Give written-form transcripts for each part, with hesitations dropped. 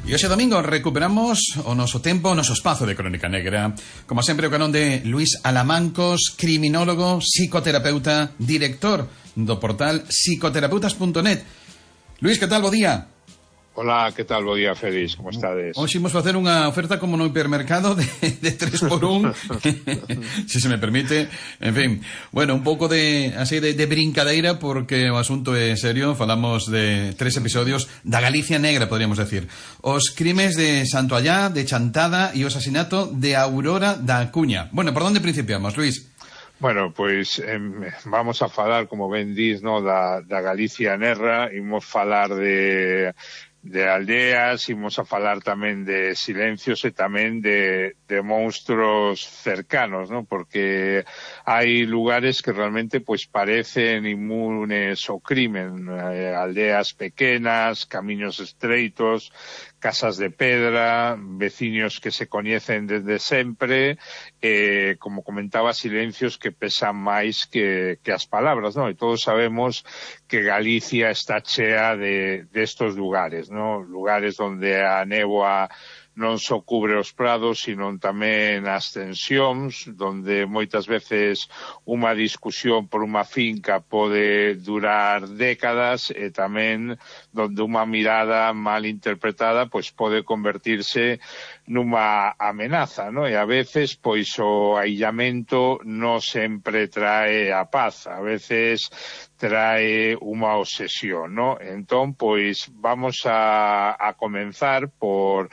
E hoxe domingo recuperamos o noso tempo, o noso espazo de Crónica Negra. Como sempre, o canón de Luís Alamancos, criminólogo, psicoterapeuta, director do portal psicoterapeutas.net. Luís, que tal? Bo día. Hola, que tal? Bo día, Félix, como estades? Hoxe imos facer unha oferta como no hipermercado de 3x1 se me permite. En fin, bueno, un pouco de así de brincadeira, porque o asunto é serio. Falamos de 3 episodios da Galicia negra, podríamos decir. Os crimes de Santoallá, de Chantada e o asasinato de Aurora da Acuña. Bueno, por onde principiamos, Luís? Bueno, pois vamos a falar, como ben dis, no, da Galicia negra. Imos falar de aldeas, imos a falar tamén de silencios e tamén de monstruos cercanos, ¿no? Porque hai lugares que realmente pois parecen inmunes ao crimen, aldeas pequenas, camiños estreitos, casas de pedra, veciños que se coñecen desde sempre, como comentaba, silencios que pesan máis que as palabras, ¿no? E todos sabemos que Galicia está chea de estos lugares, ¿no? Lugares donde a néboa non só cubre os prados, sino tamén as tensións, donde moitas veces unha discusión por unha finca pode durar décadas, e tamén donde unha mirada mal interpretada pois pode convertirse nunha amenaza, ¿no? E a veces pois o aillamento non sempre trae a paz, a veces trae unha obsesión, ¿no? Entón, pois vamos a comenzar por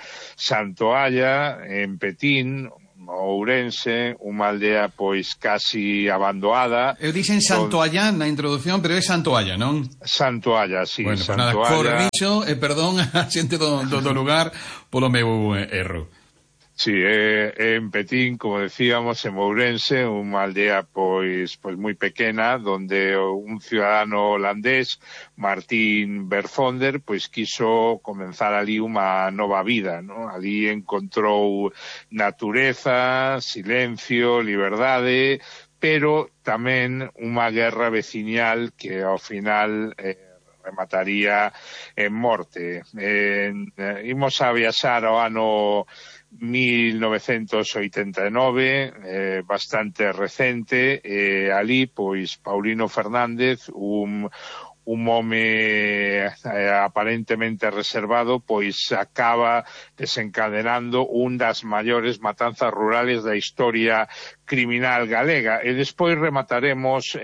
Santoalla, en Petín, Ourense, unha aldea pois casi abandonada. Eu dixen Santoalla na introducción, pero é Santoalla, non? Santoalla, sí. Bueno, Santoalla. Pues nada, corrixo e perdón a xente do lugar polo meu erro. Sí, en Petín, como decíamos, en Ourense, unha aldea pois moi pequena, donde un ciudadano holandés, Martín Verfonder, pois quiso comenzar ali unha nova vida, ¿no? Ali encontrou natureza, silencio, liberdade, pero tamén unha guerra veciñal que ao final remataría en morte. Imos a viaxar ao ano 1989, bastante recente, ali, pois, Paulino Fernández, un home aparentemente reservado, pois acaba desencadenando un das maiores matanzas rurales da historia criminal galega. E despois remataremos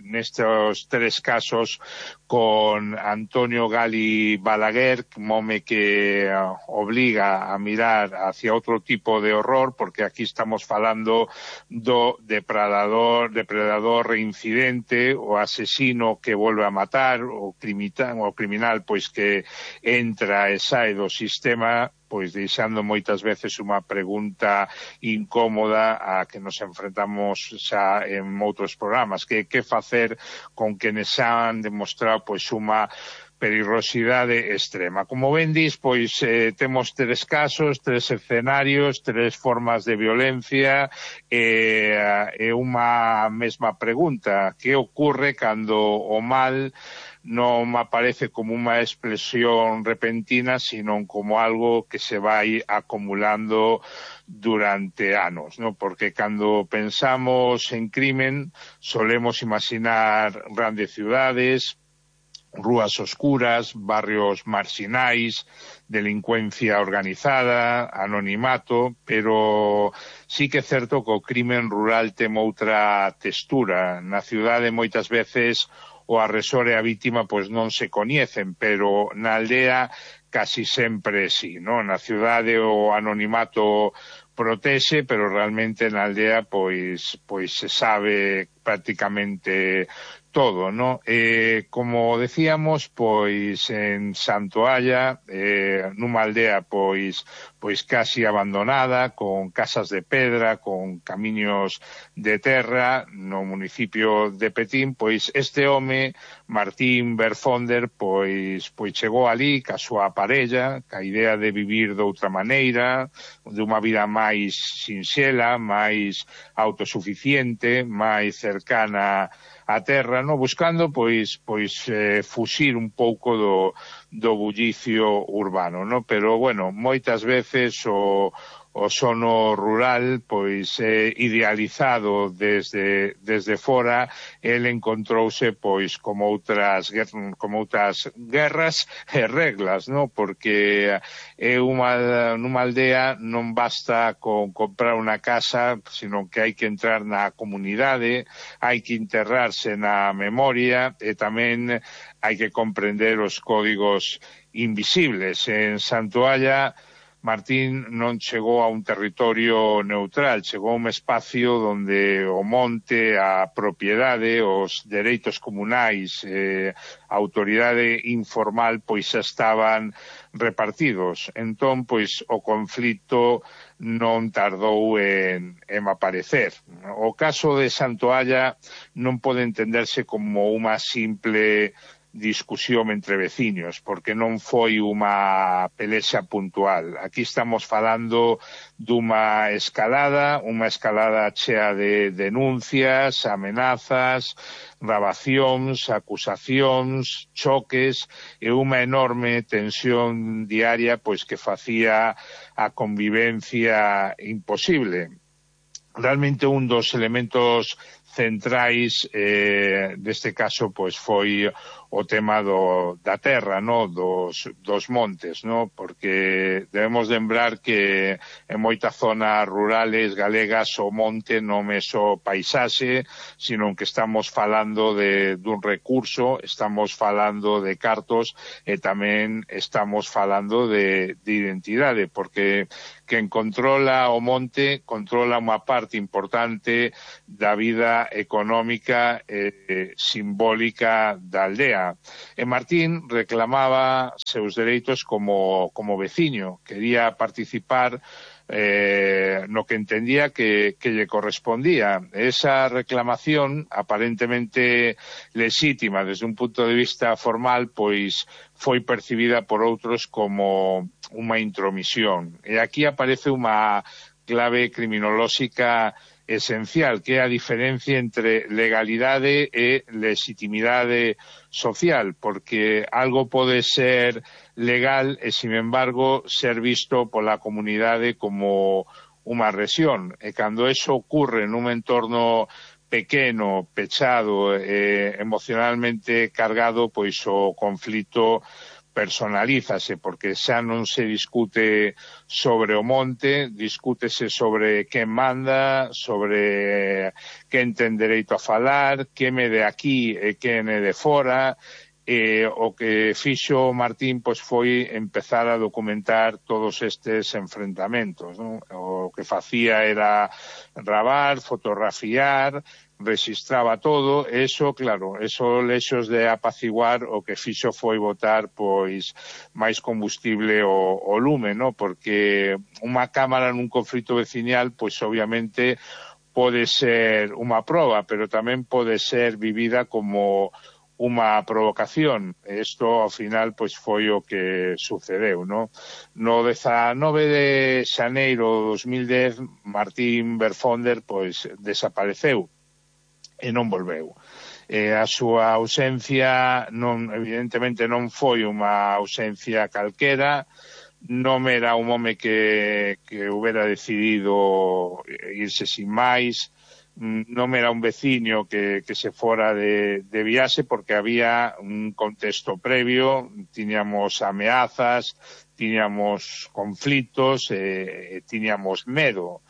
nestes 3 casos con Antonio Gali Balaguer, un home que obliga a mirar hacia outro tipo de horror, porque aquí estamos falando do depredador reincidente, o asesino que volve a matar, o criminal pois que entra e sae do sistema, pois deixando moitas veces unha pregunta incómoda a que nos enfrentamos xa en outros programas, que facer con que nos han demostrado pois unha perigosidade extrema. Como ben dis, pois temos 3 casos, 3 escenarios, 3 formas de violencia, e unha mesma pregunta: que ocorre cando o mal non aparece como unha explosión repentina, sino como algo que se vai acumulando durante anos, ¿no? Porque cando pensamos en crimen solemos imaginar grandes ciudades, rúas oscuras, barrios marxinais, delincuencia organizada, anonimato, pero sí que é certo que o crimen rural ten outra textura. Na cidade moitas veces o agresor e a vítima pois non se coñecen, pero na aldea casi sempre sí, ¿no? Na cidade o anonimato protexe, pero realmente na aldea pois se sabe prácticamente todo, ¿no? Como decíamos, pois en Santoalla, nunha aldea pois casi abandonada, con casas de pedra, con camiños de terra, no municipio de Petín, pois este home, Martín Verfonder, pois chegou ali ca súa parella, ca idea de vivir de outra maneira, de unha vida máis sinxela, máis autosuficiente, máis cercana a terra, no, buscando pois fuxir un pouco do bullicio urbano, no, pero bueno, moitas veces o sono rural pois idealizado desde fora, el encontrouse pois como outras guerras e reglas, no, porque nunha aldea non basta con comprar unha casa, sino que hai que entrar na comunidade, hai que enterrarse na memoria e tamén hai que comprender os códigos invisibles. En Santoalla Martín non chegou a un territorio neutral, chegou a un espacio onde o monte, a propiedade, os dereitos comunais, a autoridade informal, pois xa estaban repartidos. Entón, pois, o conflito non tardou en aparecer. O caso de Santoalla non pode entenderse como unha simple discusión entre veciños, porque non foi unha pelexa puntual. Aquí estamos falando dunha escalada chea de denuncias, amenazas, grabacións, acusacións, choques e unha enorme tensión diaria pois que facía a convivencia imposible. Realmente un dos elementos centrais deste caso pois foi o tema da terra, no, dos montes, no, porque debemos lembrar que en moitas zonas rurales galegas o monte non é só paisaxe, sino que estamos falando dun recurso, estamos falando de cartos e tamén estamos falando de identidade, porque quen controla o monte controla unha parte importante da vida económica e simbólica da aldea. E Martín reclamaba seus dereitos como veciño, quería participar no que entendía que lle correspondía. Esa reclamación, aparentemente lexítima desde un punto de vista formal, pois foi percibida por outros como unha intromisión. E aquí aparece unha clave criminolóxica esencial, que é a diferencia entre legalidade e legitimidade social, porque algo pode ser legal e, sin embargo, ser visto pola comunidade como unha agresión. E cando eso ocurre nun entorno pequeno, pechado e emocionalmente cargado, pois o conflito personalízase, porque xa non se discute sobre o monte, discútese sobre quen manda, sobre quen ten dereito a falar, quen é de aquí e quen é de fora. O que fixo Martín pois foi empezar a documentar todos estes enfrentamentos, non? O que facía era gravar, fotografiar, registraba todo, e eso, claro, eso lexos de apaciguar, o que fixo foi botar pois máis combustible o lume, no? Porque unha cámara nun conflito veciñal, pois obviamente pode ser unha proba, pero tamén pode ser vivida como unha provocación. Isto, ao final, pois foi o que sucedeu, no? No 19 de xaneiro de 2010, Martín Berfonder, pois, desapareceu e non volveu. A súa ausencia, evidentemente, non foi unha ausencia calquera, non era un home que houbera decidido irse sin máis, non era un veciño que se fora de viaxe, porque había un contexto previo, tiñamos ameazas, tiñamos conflitos e tiñamos medo,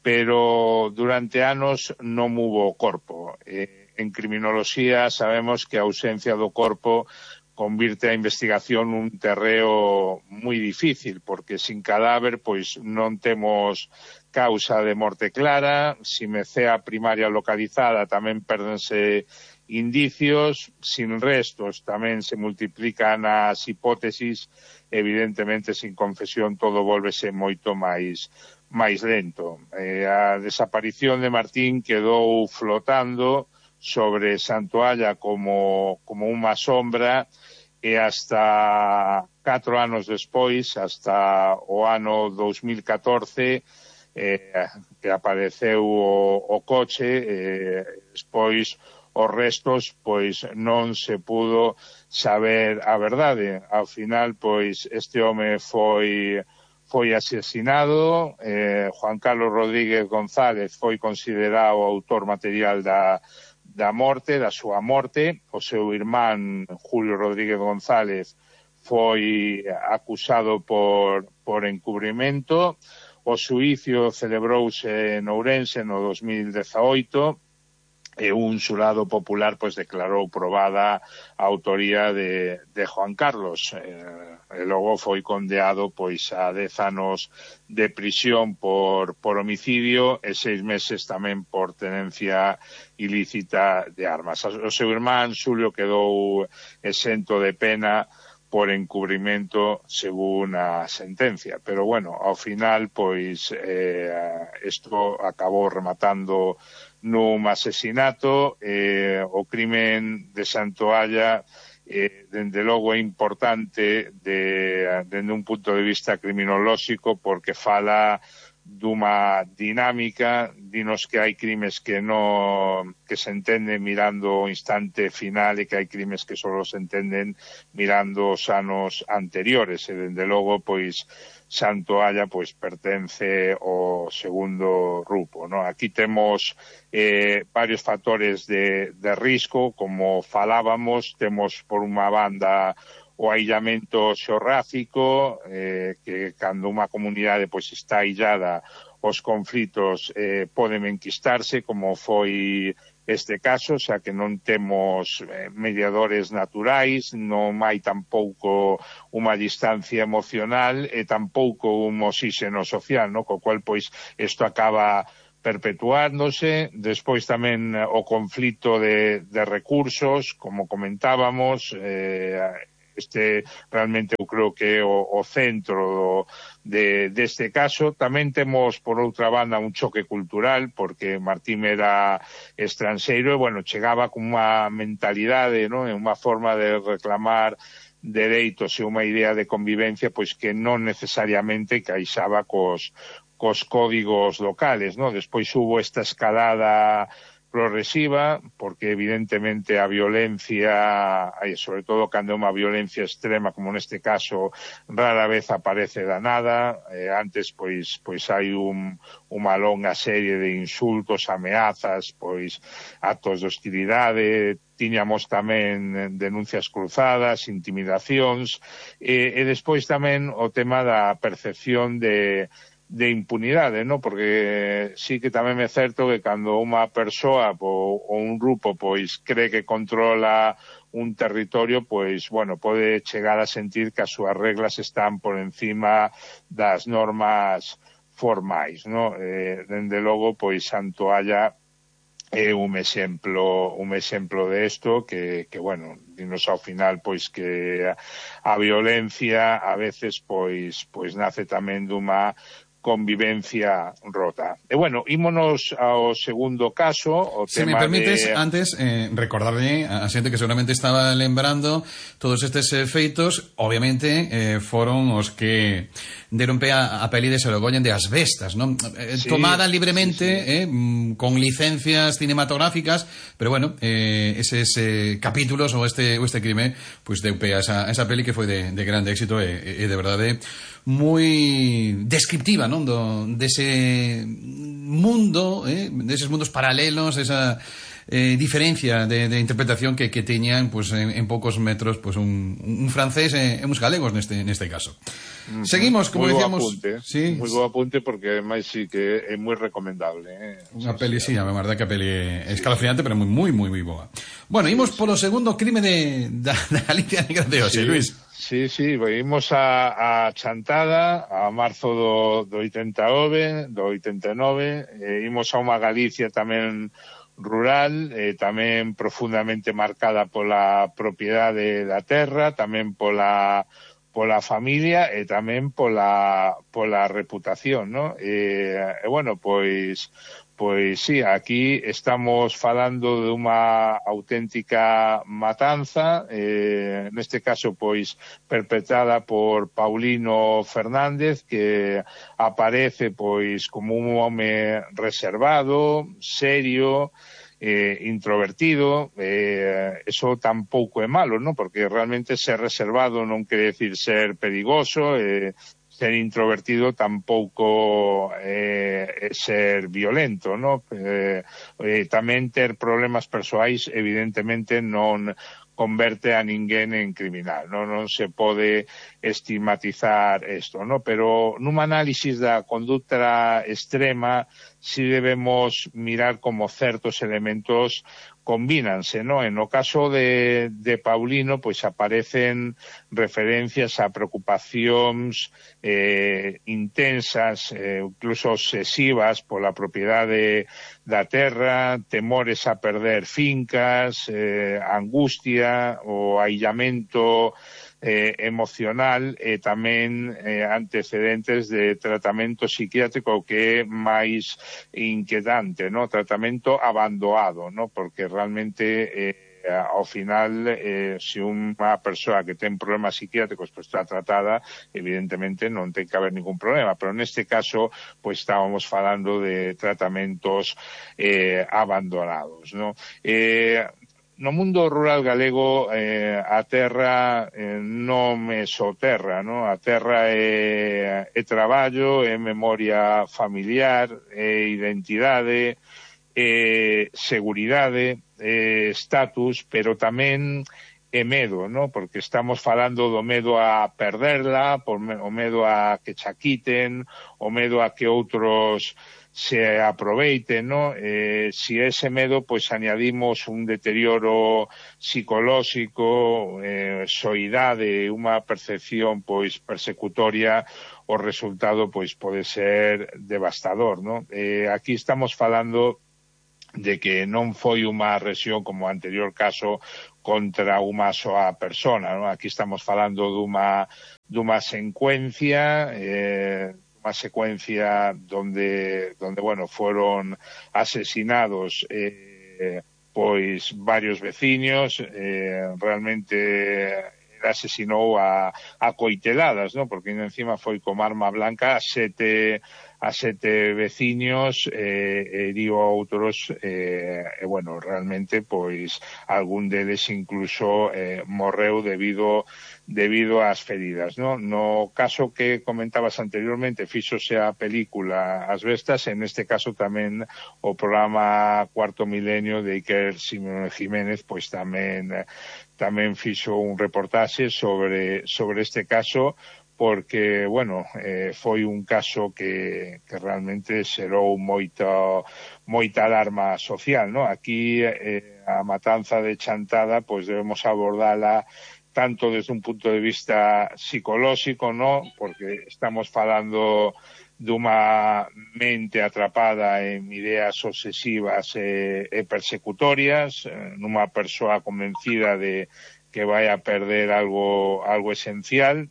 pero durante anos non hubo corpo. En criminoloxía sabemos que a ausencia do corpo convirte a investigación nun terreo moi difícil, porque sin cadáver pois non temos causa de morte clara, sin mecea primaria localizada tamén pérdense indicios, sin restos tamén se multiplican as hipótesis, evidentemente sin confesión todo volvese moito máis lento. A desaparición de Martín quedou flotando sobre Santoalla como unha sombra, e hasta 4 anos despois, hasta o ano 2014, que apareceu o coche, despois os restos, pois non se pudo saber a verdade. Ao final, pois, este home foi asesinado, Juan Carlos Rodríguez González foi considerado o autor material da súa morte, o seu irmán Julio Rodríguez González foi acusado por encubrimento. O xuízo celebrouse en Ourense no 2018, e un xurado popular pois declarou probada a autoría de Juan Carlos, e logo foi condeado pois a 10 anos de prisión por homicidio e 6 meses tamén por tenencia ilícita de armas. O seu irmán Xulio quedou exento de pena por encubrimento según a sentencia, pero bueno, ao final pois isto acabou rematando nun asesinato. O crimen de Santoalla dende logo é importante dende un punto de vista criminolóxico, porque fala dunha dinámica, dinos que hai crimes que se entenden mirando o instante final e que hai crimes que só se entenden mirando os anos anteriores, e dende logo pois Santoalla pois pertence ao segundo grupo, ¿no? Aquí temos varios factores de risco, como falábamos. Temos por unha banda o aillamento xeográfico, que cando unha comunidade pois está aillada, os conflitos poden enquistarse, como foi este caso, xa que non temos mediadores naturais, non hai tampouco unha distancia emocional e tampouco un oxígeno social, no? Co cual pois isto acaba perpetuándose. Despois tamén o conflito de recursos, como comentábamos, este realmente eu creo que é o centro deste caso. Tamén temos, por outra banda, un choque cultural, porque Martín era estranxeiro e, bueno, chegaba con unha mentalidade, non? Unha forma de reclamar dereitos e unha idea de convivencia pois que non necesariamente caixaba cos códigos locales, non? Despois hubo esta escalada progresiva, porque evidentemente a violencia, sobre todo cando é unha violencia extrema, como neste caso, rara vez aparece da nada. Antes pois hai unha longa serie de insultos, ameazas, pois actos de hostilidade. Tiñamos tamén denuncias cruzadas, intimidacións, e despois tamén o tema da percepción de impunidade, ¿no? Porque sí que tamén é certo que cando unha persoa ou un grupo pois cree que controla un territorio, pois, bueno, pode chegar a sentir que as súas reglas están por encima das normas formais, ¿no? Dende logo, pois, Santoalla é un exemplo de isto que bueno, dinos ao final pois que a violencia a veces pois nace tamén dunha convivencia rota. E bueno, ímonos ao segundo caso, o Se tema me permites, de... antes, recordarle a xente que seguramente estaba lembrando todos estes feitos, obviamente, foron os que deron pé a peli de Sorogoyen de As Bestas, non? Sí, tomada libremente, sí. Con licencias cinematográficas, pero bueno, eses capítulos ou este crime, pues deu pé a esa peli que foi de grande éxito e de verdade moi descriptiva, non? Dese mundo, deses mundos paralelos, esa diferencia de interpretación que teñan pues, en poucos metros pues, un francés e uns galegos neste caso. Seguimos, como decíamos. Sí, moi bo apunte, porque ademais sí que é moi recomendable. Unha peli, sí, a verdade que a peli é escalofriante, pero moi boa. Bueno, imos polo segundo crime da Galicia Negra de hoxe, Luis. Sí, imos a Chantada, a marzo do 89, imos a unha Galicia tamén rural, tamén profundamente marcada pola propiedade da terra, tamén pola familia e tamén pola reputación, ¿no? E bueno, pois sí, aquí estamos falando de unha auténtica matanza, neste caso pois perpetrada por Paulino Fernández, que aparece pois como un home reservado, serio, introvertido, eso tampouco é malo, non? Porque realmente ser reservado non quere decir ser perigoso, ser introvertido tampouco é ser violento, non? Tamén ter problemas persoais evidentemente non converte a ninguén en criminal, non se pode estigmatizar isto, non? Pero nun análisis da conducta extrema si debemos mirar como certos elementos combínanse, non? En o caso de Paulino, pois aparecen referencias a preocupacións intensas, incluso obsesivas pola propiedade da terra, temores a perder fincas, angustia, o aillamento emocional e tamén antecedentes de tratamento psiquiátrico que é máis inquietante, no? Tratamento abandoado, no? Porque realmente ao final, se unha persoa que ten problemas psiquiátricos pues, está tratada, evidentemente non ten que haber ningún problema, pero neste caso pues, estábamos falando de tratamentos abandonados, no? No mundo rural galego a terra non é só terra, no? A terra é traballo, é memoria familiar, é identidade, seguridade, status, pero tamén é medo, ¿no? Porque estamos falando do medo a perderla, o medo a que cha quiten, o medo a que outros se aproveiten, ¿no? Si ese medo, pois, añadimos un deterioro psicolóxico, soidade, unha percepción, pois, persecutoria, o resultado, pois, pode ser devastador, ¿no? Aquí estamos falando de que non foi unha agresión como o anterior caso contra unha soa persona, ¿no? Aquí estamos falando dunha secuencia donde bueno, foron asesinados pois varios veciños, realmente asesinou a coiteladas, ¿no? Porque encima foi con arma blanca a sete veciños, heriu a outros, bueno, realmente, pois, algún deles incluso morreu debido ás feridas, ¿no? No caso que comentabas anteriormente, fíxose a película As Bestas, en este caso tamén o programa Cuarto Milenio de Iker Jiménez, pois tamén fixo un reportaxe sobre este caso, porque, bueno, foi un caso que realmente xerou moita alarma social, ¿no? Aquí a matanza de Chantada, pois debemos abordala tanto desde un punto de vista psicolóxico, ¿no? Porque estamos falando dunha mente atrapada en ideas obsesivas e persecutorias, nunha persoa convencida de que vai a perder algo esencial,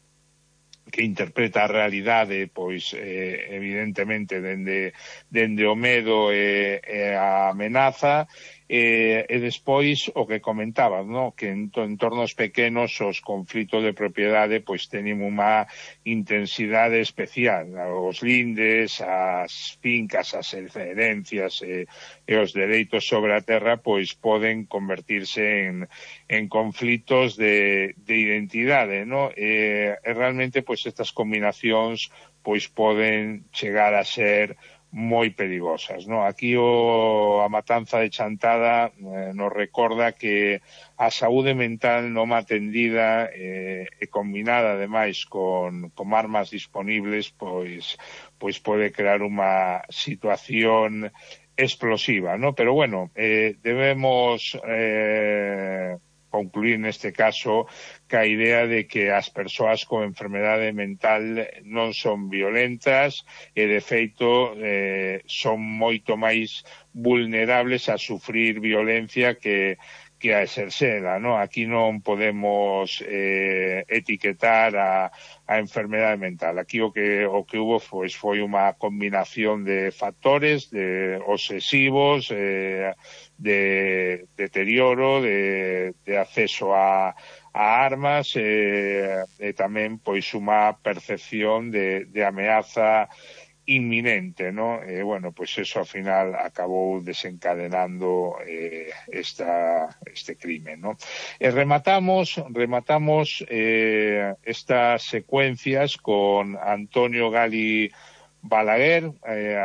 que interpreta a realidade, pois, evidentemente, dende o medo e a amenaza, e despois o que comentabas, no? Que en entornos pequenos os conflitos de propiedade pois teñen unha intensidade especial. Os lindes, as fincas, as herencias e os dereitos sobre a terra pois poden convertirse en conflitos de identidade, no? E realmente pois estas combinacións pois poden chegar a ser moi perigosas, no? Aquí a matanza de Chantada nos recorda que a saúde mental non atendida e combinada ademais con armas disponibles pois pode crear unha situación explosiva, no? Pero bueno, debemos concluir neste caso que a idea de que as persoas con enfermedade mental non son violentas e, de feito, son moito máis vulnerables a sufrir violencia que a exercela, no? Aquí non podemos etiquetar a enfermedade mental. Aquí o que hubo foi unha combinación de factores, de obsesivos, de deterioro, de acceso a armas e tamén pois unha percepción de ameaza inminente, ¿no? Bueno, pues eso ao final acabou desencadenando este crimen, ¿no? Rematamos estas secuencias con Antonio Gali Balaguer.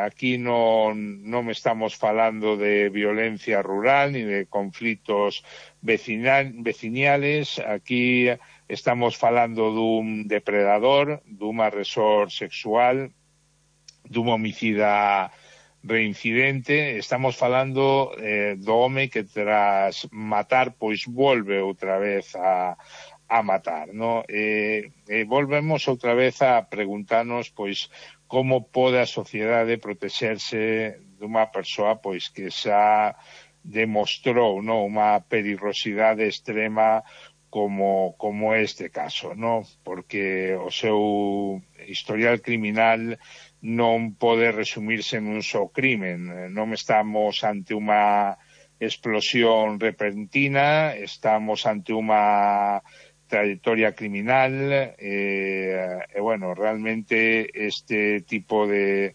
Aquí non estamos falando de violencia rural ni de conflitos veciñales. Aquí estamos falando dun depredador, dun agresor sexual, dun homicida reincidente. Estamos falando do home que tras matar pois volve outra vez a matar, ¿no? Volvemos outra vez a preguntarnos pois como pode a sociedade protexerse dunha persoa pois que xa demostrou, ¿no?, unha perigosidade extrema como este caso, ¿no? Porque o seu historial criminal non pode resumirse nun só crimen. Non estamos ante unha explosión repentina, estamos ante unha trayectoria criminal, bueno, realmente este tipo de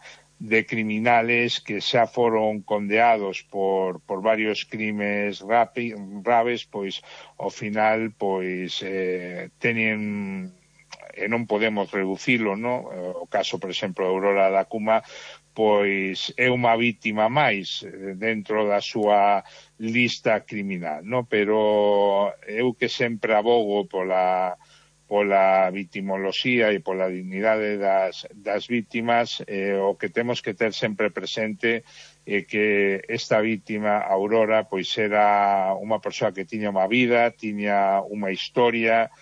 criminales que xa foron condeados por varios crimes graves, pois ao final pois teñen, e non podemos reducilo, no? O caso, por exemplo, de Aurora da Cuma, pois é unha vítima máis dentro da súa lista criminal, no? Pero eu que sempre abogo pola victimoloxía e pola dignidade das vítimas, o que temos que ter sempre presente é que esta vítima, Aurora, pois era unha persoa que tiña unha vida, tiña unha historia,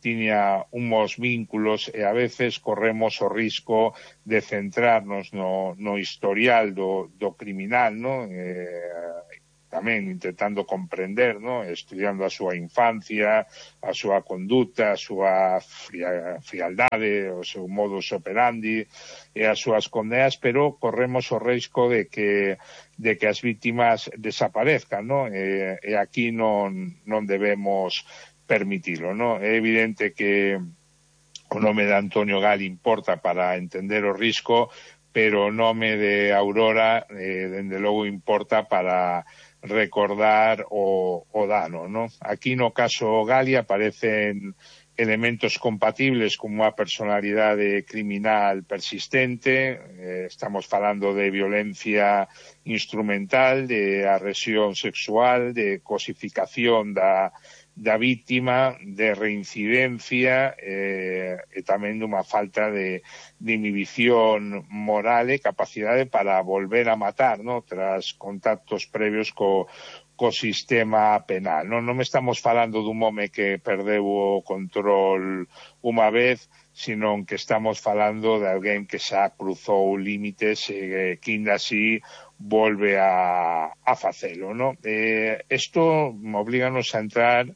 tiña unhos vínculos, e a veces corremos o risco de centrarnos no historial do criminal, ¿no? Tamén intentando comprender, ¿no?, estudiando a súa infancia, a súa conduta, a súa frialdade, o seu modus operandi e as súas condenas, pero corremos o risco de que as vítimas desaparezcan, ¿no? E aquí non debemos permitilo, ¿no? É evidente que o nome de Antonio Gali importa para entender o risco, pero o nome de Aurora, dende logo, importa para recordar o dano, ¿no? Aquí no caso Gali aparecen elementos compatibles como unha personalidade criminal persistente, estamos falando de violencia instrumental, de agresión sexual, de cosificación da vítima, de reincidencia e tamén dunha falta de inhibición moral e capacidade para volver a matar, ¿no?, tras contactos previos co sistema penal. Non estamos falando dun home que perdeu o control unha vez, sino que estamos falando de alguén que xa cruzou límites e que ainda así volve a facelo, ¿no? Isto oblíganos a entrar,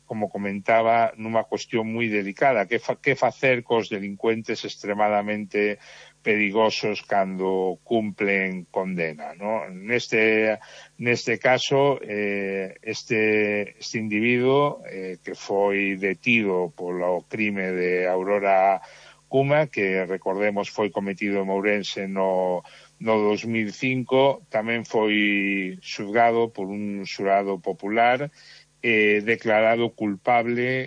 como comentaba, nunha cuestión moi delicada. Que facer cos delincuentes extremadamente perigosos cando cumplen condena, ¿no? Neste caso, este individuo que foi detido polo crime de Aurora Cuma, que recordemos foi cometido en Ourense no 2005, tamén foi xulgado por un xurado popular, declarado culpable,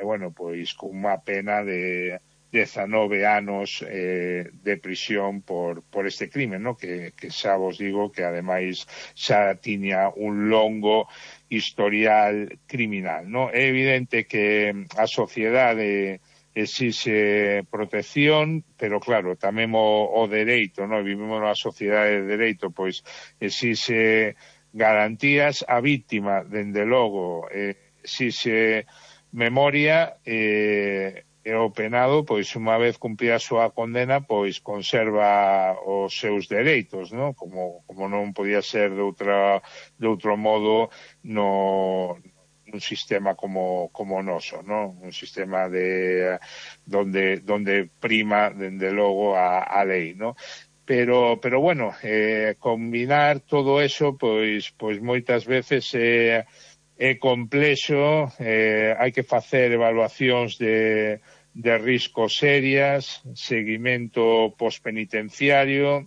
bueno, pois con unha pena de 19 anos de prisión por este crimen, ¿no? Que xa vos digo que ademais xa tiña un longo historial criminal, ¿no? É evidente que a sociedade exixe protección, pero claro, tamén o dereito, ¿no? Vivimos nunha sociedade de dereito, pois exixe garantías. A vítima, dende logo, exixe memoria, e o penado, pois unha vez cumprida a súa condena, pois conserva os seus dereitos, ¿no? Como non podía ser de outro modo un sistema como o noso, ¿no? Un sistema donde prima, dende logo, a lei, ¿no? Pero bueno, combinar todo eso, pois moitas veces é complexo, hai que facer evaluacións de risco serias, seguimento pospenitenciario.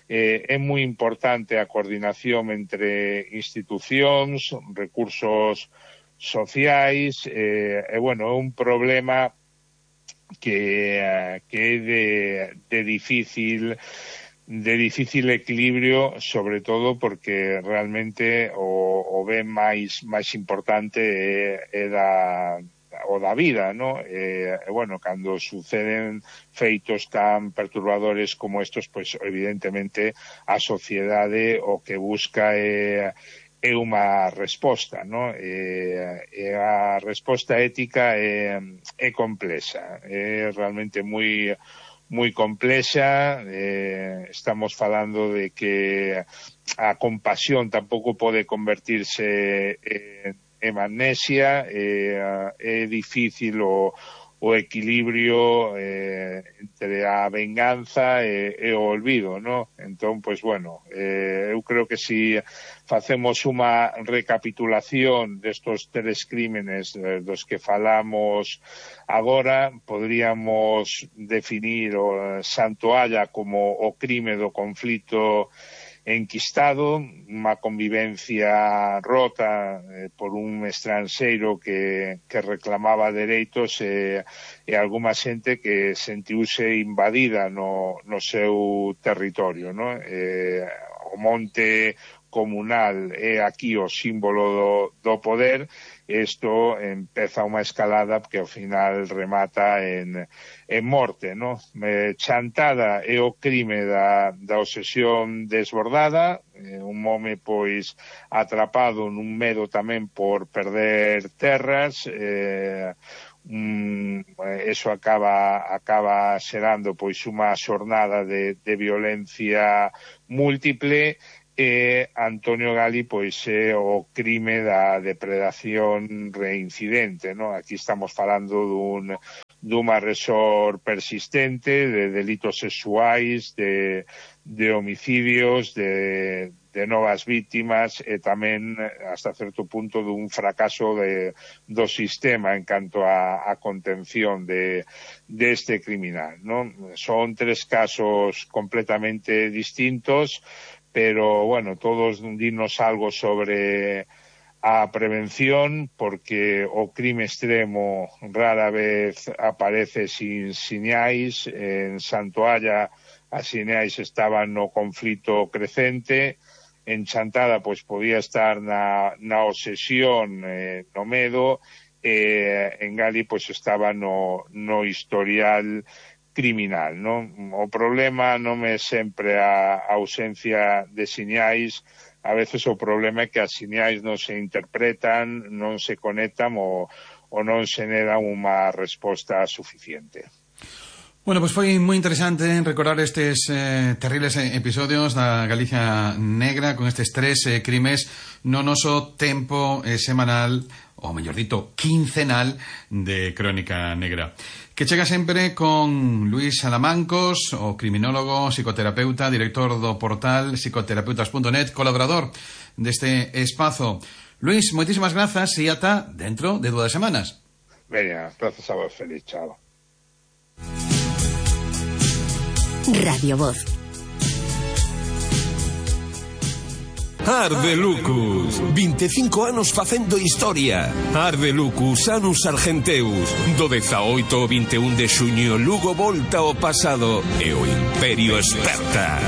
É moi importante a coordinación entre institucións, recursos sociais, é un problema que é de difícil equilibrio, sobre todo porque realmente o ben máis importante é da vida, ¿no? Cando suceden feitos tan perturbadores como estos, pues evidentemente a sociedade o que busca é unha resposta, ¿no? A resposta ética é complexa, é realmente moi complexa. Estamos falando de que a compasión tampouco pode convertirse en amnesia, é difícil o equilibrio entre a venganza e o olvido, ¿no? Entón, pues eu creo que si facemos unha recapitulación destos 3 crímenes dos que falamos agora, podríamos definir o Santoalla como o crime do conflito enquistado, unha convivencia rota por un estranxeiro que reclamaba dereitos e algunha xente que sentiuse invadida no seu territorio, ¿no? O monte comunal é aquí o símbolo do poder. Isto empeza unha escalada que ao final remata en morte, ¿no? Chantada é o crime da obsesión desbordada, un home pois atrapado nun medo tamén por perder terras, eso acaba xerando pois unha xornada de violencia múltiple. Antonio Gali pois é o crime da depredación reincidente, ¿no? Aquí estamos falando dun agresor persistente, de delitos sexuais, de homicidios, de novas vítimas e tamén hasta certo punto dun fracaso do sistema en canto a contención deste criminal, ¿no? Son 3 casos completamente distintos, pero todos dinos algo sobre a prevención, porque o crime extremo rara vez aparece sin sinais. En Santoalla as sinais estaban no conflito crecente, en Chantada pois podía estar na obsesión, no medo, en Gali pois estaba no historial criminal, non? O problema non é sempre a ausencia de sinais, a veces o problema é que as sinais non se interpretan, non se conectan ou non se dan unha resposta suficiente. Bueno, pues foi moi interesante recordar estes terribles episodios da Galicia negra con estes 3 crimes no noso tempo semanal, ou mellor dito, quincenal de Crónica Negra, que chega sempre con Luís Salamancos, o criminólogo, psicoterapeuta, director do portal psicoterapeutas.net, colaborador deste espazo. Luís, moitísimas grazas e ata dentro de 2 semanas. Veña, grazas a vos, feliz, chao. Radio Voz. Arde Lucus, 25 anos facendo historia. Arde Lucus, Anus Argenteus. Do 18 ao 21 de xuño, Lugo volta ao pasado e o Imperio esperta.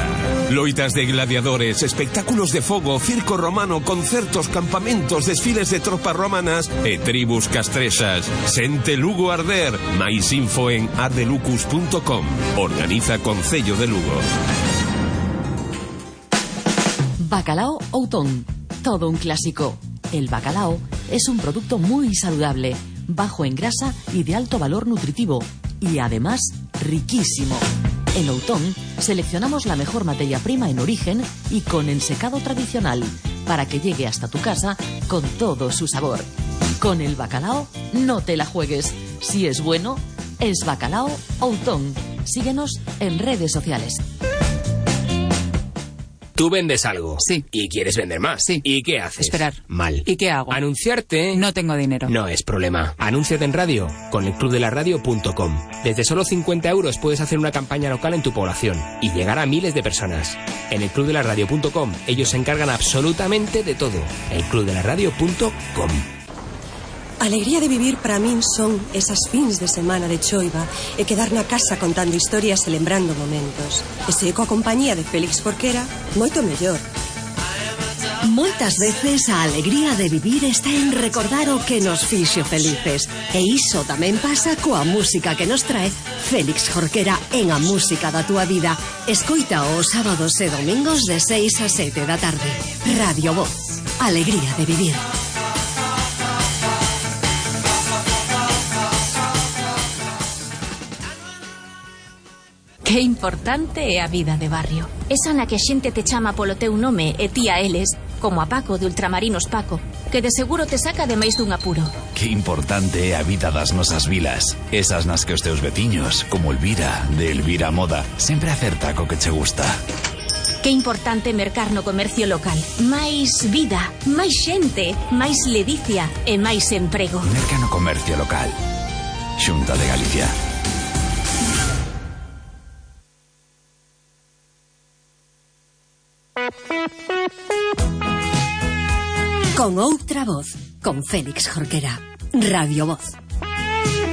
Loitas de gladiadores, espectáculos de fogo, circo romano, concertos, campamentos, desfiles de tropas romanas e tribus castrexas. Sente Lugo arder. Mais info en ardelucus.com. Organiza Concello de Lugo. Bacalao Outón, todo un clásico. El bacalao es un producto muy saludable, bajo en grasa y de alto valor nutritivo, y además riquísimo. En Outón seleccionamos la mejor materia prima en origen y con ensecado tradicional, para que llegue hasta tu casa con todo su sabor. Con el bacalao no te la juegues. Si es bueno, es Bacalao Outón. Síguenos en redes sociales. Tú vendes algo. Sí. Y quieres vender más. Sí. ¿Y qué haces? Esperar. Mal. ¿Y qué hago? Anunciarte. No tengo dinero. No es problema. Anúnciate en radio con elclubdelaradio.com. Desde solo 50 € puedes hacer una campaña local en tu población y llegar a miles de personas. En elclubdelaradio.com ellos se encargan absolutamente de todo. elclubdelaradio.com. Alegría de vivir para min son esas fins de semana de choiva e quedar na casa contando historias e lembrando momentos. E se coa compañía de Félix Jorquera, moito mellor. Moitas veces a alegría de vivir está en recordar o que nos fixo felices. E iso tamén pasa coa música que nos trae Félix Jorquera en A Música da Túa Vida. Escoita os sábados e domingos de 6 a 7 da tarde. Radio Voz. Alegría de vivir. Que importante é a vida de barrio. Esa na que a xente te chama polo teu nome e ti a eles, como a Paco de Ultramarinos Paco, que de seguro te saca de máis dun apuro. Que importante é a vida das nosas vilas. Esas nas que os teus veciños, como Elvira, de Elvira Moda, sempre acerta co que che gusta. Que importante mercar no comercio local. Máis vida, máis xente, máis ledicia e máis emprego. Merca no comercio local. Xunta de Galicia. Con outra voz, con Félix Jorquera. Radio Voz.